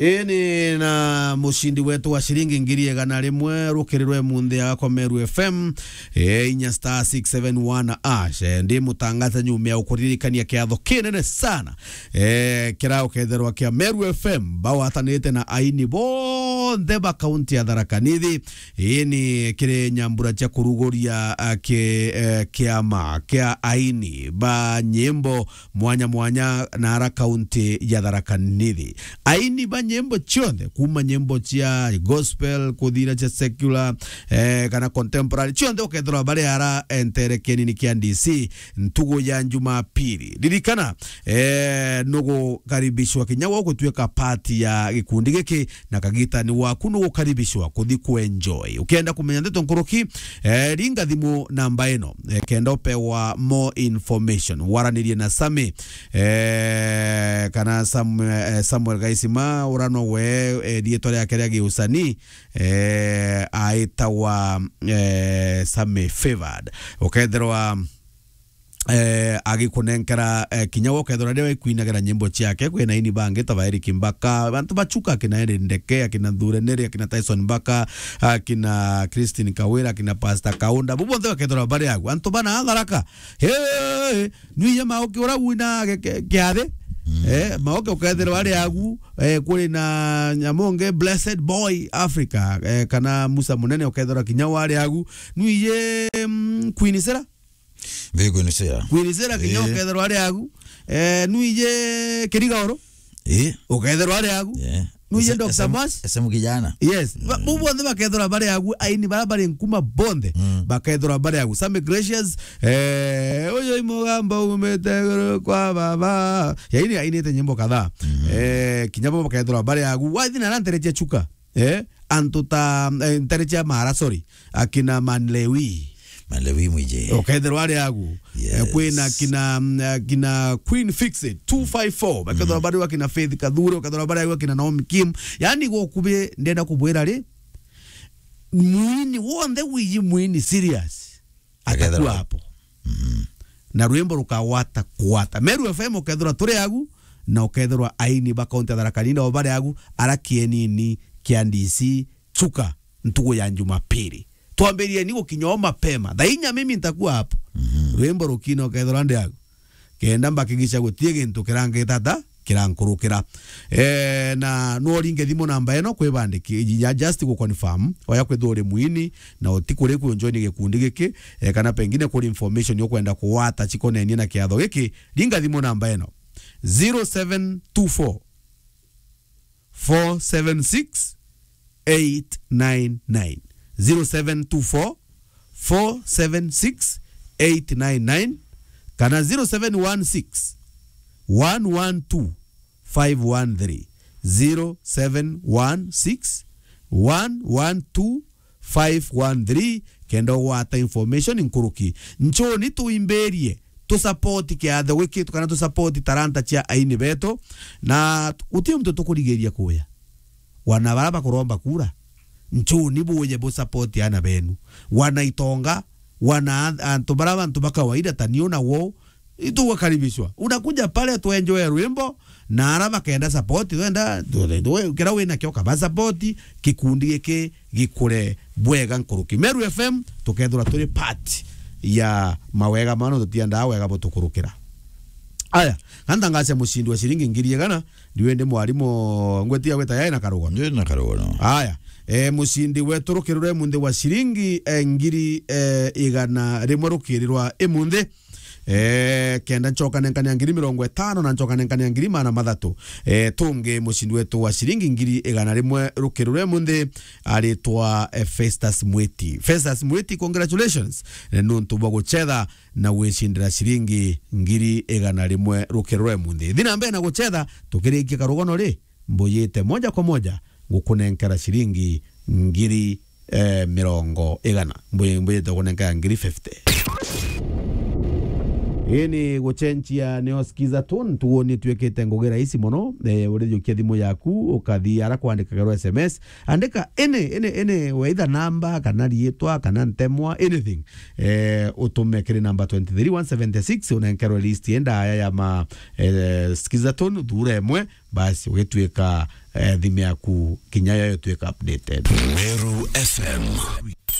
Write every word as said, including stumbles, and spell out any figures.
Ii ni na mucindi wetu wa ciringi ngiri igana rimwe rukiri rwe munthi agakwa Meru F M, eh, inya star six seven one ash. Eh, ndi mutangathani umea ukuririkania kiatho kinene sana, eh, kira uketherwa kia Meru F M, bagwatanite na aini bonthe ba kaunti ya Tharaka Nithi. Ii ni kiri nyambura cia kuruguria, ah, ki-, eh, kiama kia aini ba nyimbo mwanya mwanya na ara kaunti ya Tharaka Nithi. Aini ba nyimbo cionthe, kuma nyimbo cia gospel, kuthira cia secular, eh, kana contemporary, cionthe ukethirwa bari ara, eh, ntere kienini kia D C ntugu ya Jumapili. Ririkana, eh, nugukaribishwa kinya gwe gutuika part ya gikundi giki, na kagitani waku nugukaribishwa kuthi kuenjoy. Ukienda kumenya ndeto nkuruki, eh, ringa thimu namba ino, eh, kenda upewa more information. Waranirie na Sami, eh, kana Sam-, eh, Samuel Gaisima, urano we, eh, riitwa riake ria giusanii, eh, aitagwa, eh, Sami Favored. Ukethirwa eh, agikunenkera, eh, kinya gwe ukethirwa riria wikuinagira nyimbo ciake, kwina aini bangi ta ba Eric Mbaka, bantu ba Chuka, akina Eri Ndeke, akina Nthure Neri, akina Tyson Mbaka, akina Christine Kawira, akina Pastor Kaunda, bu bonthe bakethirwa bari agu. Antu bana Tharaka, hey, nwiye Maoki ura wina ge-, ke-, kiathi, eh, Maoki ukethirwa ari agu, eh, kuri na Nyamonge, Blessed Boy Africa, eh, kana Musa Munene ukethirwa kinya wari agu, nwiye, mm, Queen Sera, Bigunisira. Queen Sera kinya, eh, ukethirwa ari agu. Eh, nwije Kirigaoro. Eh. Ukethirwa ari agu. Eh. Nwije Ese-, Doctor Esem-, Mas. Esemu kijana. Yes. Ba-, mm, bu bonthe bakethirwa bari agu, aini bara bari nkuma bonthe. Mm. Bakethirwa bari agu. Sammy Gracious, eh, uyu i mugamba umite iguru kwa baba. Yaini ainite nyimbo kadhaa. Mm. Eh, kinya bo bakethirwa bari agu. Wathi na ara ntere cia Chuka. Eh, antu ta, eh, ntere cia Mara, sorry, akina Manlewi. Manlewi mwije. Ukethirwa ari agu. Eh, yes. Kwina akina, mm, akina Queen Fix It two five four. Bakethirwa, mhm, bari akina Faith Kathure, ukethirwa bari agu akina Naomi Kim. Yani gukubi ndenda kubwira ri, mwini wonthe wiji mwini serious. Akethirwa atakuwa hapo. Mhm. Na rwimbo rukagwata kwata. Meru F M ukethirwa turi agu, na ukethirwa aini ba kaunti ya Tharaka Nithi nao bari agu, ara kienini kia D C Chuka ntugu ya Jumapili. Twambirieni gukinya o mapema. Thaa inya mimi nitakuwa hapo. Mhm. Rwimbo rukina ukethirwa ndi agu. Kenda mbakigisha gutie gintu kirangita ta kirankurukira. Eh, na no uringe thimu namba ino kwibandiki-, ya just gu confirm, oya kwithirwa uri mwini, na utikuri ku join gikundi giki, eh, kana pengine kuri information ukwenda kuwata cikonenie na kiatho giki, ringa thimu namba ino, zero seven two four, four seven six, eight nine nine. Zero seven two four, four seven six, eight nine nine, kana zero seven one six, one one two, five one three. Zero seven one six, one one two, five one three, kenda ugwata information nkuruki. Nchuni tuimbirie, tu support kiatho giki, kana tu support talanta cia aini betu, na guti muntu tukurigiria kuya. Wana bara bakuromba kura, nchuni buye bu support ana benu. Wana itonga, wana an-, antu bara bantu ba kawaida ta niu na wou, itugukaribishwa. Unakuja pale tuenjoe rwimbo, na ara bakenda support, twenda, tu-, tu-, tu-, kira wina kio kaba support, gikundi giki gikure bwega nkuruki. Meru F M, tukethirwa turi part ya mawega mano, tutiendaa wega butukurukira. Aya, kanda ngacia mucindi wa ciringi ngiri igana, ndiwe ndi mwarimu ngweti ya gwita yai na karugano. Ndi na karugano. Aya, eh, mucindi wetu rukiri rwa imunthi wa ciringi, eh, ngiri, eh, igana rimwe rukiri rwa imunthi. Eh, kenda ncoka nenkania ngiri mirongo itano na ncoka nenkania ngiri maana mathatu. Eh, tungi mucindi wetu wa ciringi ngiri igana rimwe rukiri rwa imunthi aritwa, eh, Festus Mwiti. Festus Mwiti, congratulations, eh, nuntu bwa gucetha na gwicindira ciringi ngiri igana rimwe rukiri rwa imunthi. Thi na mbere na gucetha, tukirikia karugano ri, mbuyite moja kwa moja ngukunenkera ciringi ngiri, eh, mirongo igana. Mbuyi-, mbuyite gukunenkera ngiri fifty. Ii ni gucenjia nio Skiza Tone, tuoni twikite ngugi rahisi mono. Eh, urijukia thimu yaku, ukathi ara kwandikagerwa S M S, andika any, any, any, either namba, kana riitwa, kana ntemwa, anything. Eh, utume kiri namba twenty three one seventy six, unenkerwe list enda aya ya ma, eh, Skiza Tone, thura imwe, basi, ugituika, eh, thimu yaku kinya yo ituika updated. Meru F M.